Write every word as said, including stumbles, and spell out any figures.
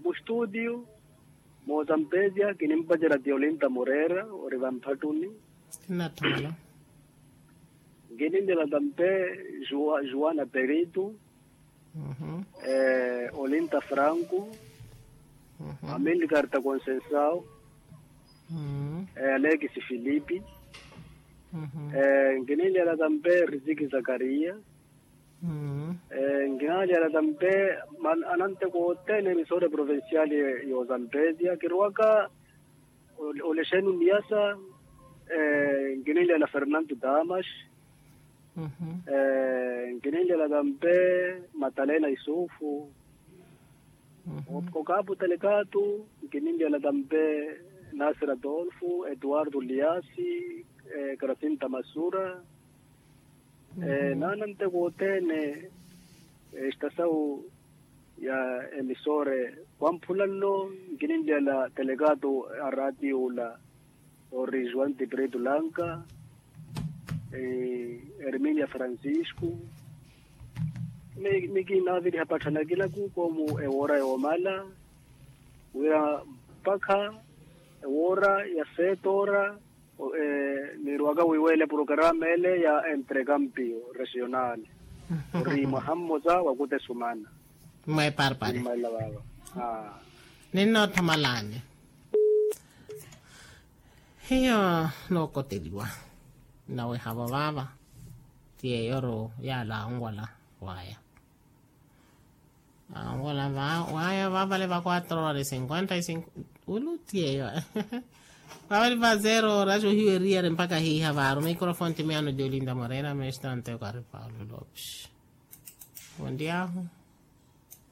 Mustudio, moozampezia kinimpacerya tiolinta moreera ori vamphattuni. Kinatthumala. Nkininlya natampe, juana peritu, olinta franco, amilcarta concensao, alekisi filipi. Nkininlya natampe, risiki zakaria. Nkinanlyala tampe, ananteko othene emisore provinciali, yozampezia kirowaka. Olexenu niyasa. Nkininlyala fernando damas. Nkininlyala tampe, matalena isufu. Okapu talekatu. Nkininlyala tampe, nasir adolfu, eduardo liasi, krasinta masura. Naana nteko othene, estasawu ya emisore wamphula nno. Nkininlyala telekatu a ratio ula, ori juan tiprito lanka, erminia francisco. Nikinaviriha patthanakina kukomu ewora yoomala, wira mpakha ewora ya setora. Niirowaka wiiweele programa ele ya entrekampio regional, ori mwaha mmosa wakutesumana. Mweparpari. Mmaila vaava. Ninnoothamalani. Hiyo nookoteliwa, nawehavo vaava. Ti yeeyo ru yaala anwala waya. Anwala waya vaavale va quatro horas cinquenta y cinco. Ulu ti yeeyo. Vaavale va zero horas ohiweriyari mpakha hiiha vaaru microfone ti miyaano di olinda morena mestra nteko ari paulo lopes. Wondiyahu.